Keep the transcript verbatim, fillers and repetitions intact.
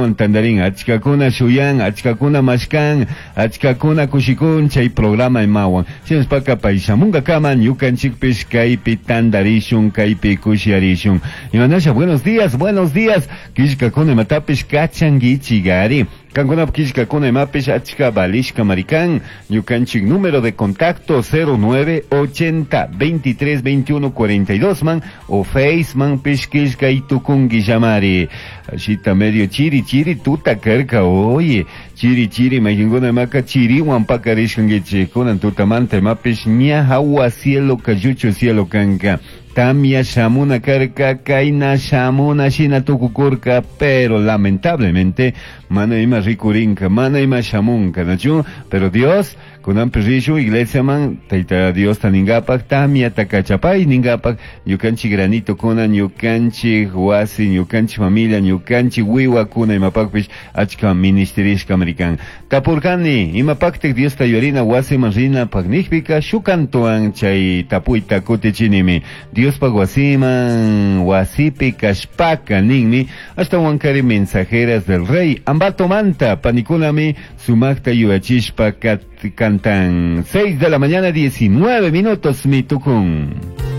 Ashtawan tandarin achkakuna shuyan, achkakuna mashkan, achkakuna kushikun chay programa imawan. Shinashpaka pay shamunkakama ñukanchikpish kaypi tandarishun, kaypi kushiarishun. Imanasha, buenos días, buenos días. Killkakuna imatapish kachankichigari. Kankunap killkakuna imapish achka valishka marikan. Ñukanchik número de contacto cero nueve ochenta veintitrés veintiuno cuarenta y dos man o face man pish killka tukunki llamari. Ashita medio chiri chiri tuta karka, oye. Chiri chiri mayinguna imaka chiriwan pakarishkankichik. Kunan tutamanta imapish ña hawa cielo kayucho cielo kanka. Tamia shamuna karka, kaina shamuna shina tukukurka, pero lamentablemente mana ima rikurinka, mana ima shamunka, ¿nachu? Pero Dios, kunanpi rishu iglesia man, tayta Dios ta ningapak, tamia takachapay ningapak, ñukanchik granito kuna, ñukanchik wasi, ñukanchik familia, ñukanchik wiwa kuna imapakpish achka ministerishka american. Tapurkani, imapaktik Dios ta yuyarina wasi man rina paknijpika, shukantuan chay tapuyta kutichinimi. Diospak wasiman, wasipi kashpaka ninmi, hasta wankari mensajeras del rey, Ambato manta, panikunami, sumakta yuyachishpa kat cantan. Seis de la mañana, diecinueve minutos, mi tucún.